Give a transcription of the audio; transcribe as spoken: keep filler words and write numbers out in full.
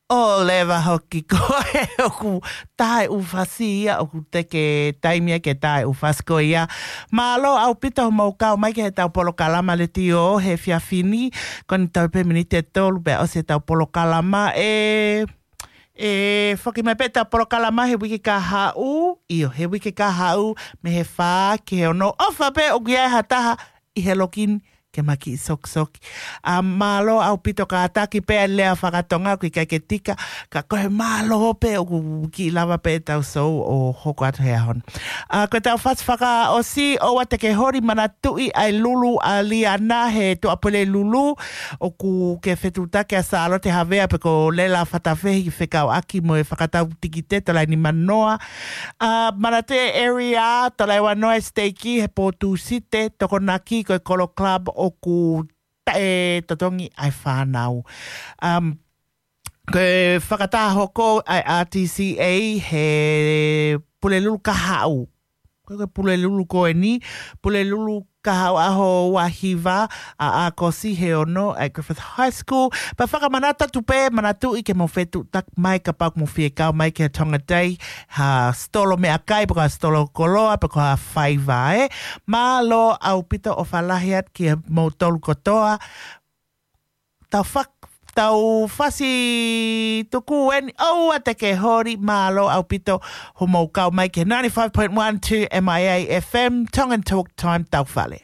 ʻO leva hoki ko e ʻoku taʻe ʻūfasi ia, ʻoku teke taimi ia ke taʻe ʻūfasi ko ia. Mālō ʻaupito hoʻomou kau mai ki heʻetau polokalama letiō he efiafi ni, ko eni tau pē miniti ʻe tolu pea ʻosi ʻetau polokalama ē. ʻE foki mai pē ʻetau polokalama he uike kahaʻu, ʻio, he uike kahaʻu, mei he fā ki he ono. ʻOfa pē ʻoku ʻi ai ha taha ʻi he loki ni ke ma kiʻi sokisoki. ʻA, mālō ʻaupito, kātaki pē ʻa e lea fakatonga ʻoku ʻikai ke tika, ka ko e mālō pē ʻoku kiʻi lava pē ʻetau sou ʻo hoko atu he ʻaho ni. ʻA, ko ʻetau fasi fakaʻosi, ʻoua te ke holi, manatuʻi ʻa e lulu ʻa Liana he Tuʻapulelulu, ʻoku ke fetuʻutaki ʻa Sālote Havea pe ko Lela Fatafehi fekauʻaki mo e fakatau tikite, tolai ni manoa. ʻA, manatuʻi e area, tolai ua noa e siteiki he pō Tūsite, Tokonaki, ko e Kolo Club ʻoku taʻe totongi ʻa e fānau. Um, ko e fakataha hoko ʻa e R T C A he Pulelulu Kahaʻu. Ko e Pulelulu ko eni, Pulelulu Kahaʻu ʻaho ua hiva ʻa ʻAokosi he ono ʻa e Griffith High School. Pea fakamanatu atu pē, manatuʻi ke mou fetuʻutaki mai kapau ʻoku mou fie kau mai ki he Tonga Day, ha sitolo meʻakai, pe ko ha sitolo koloa, pe ko ha faiva ē. Mālō ʻaupito, ʻofa lahi atu kiate kimoutolu kotoa. Tau fak-, tau fasi tuku eni, ʻoua te ke holi, mālō ʻaupito hoʻomou kau mai ki he ninety-five point one two M I A F M, Tongan Talk Time, tau fale.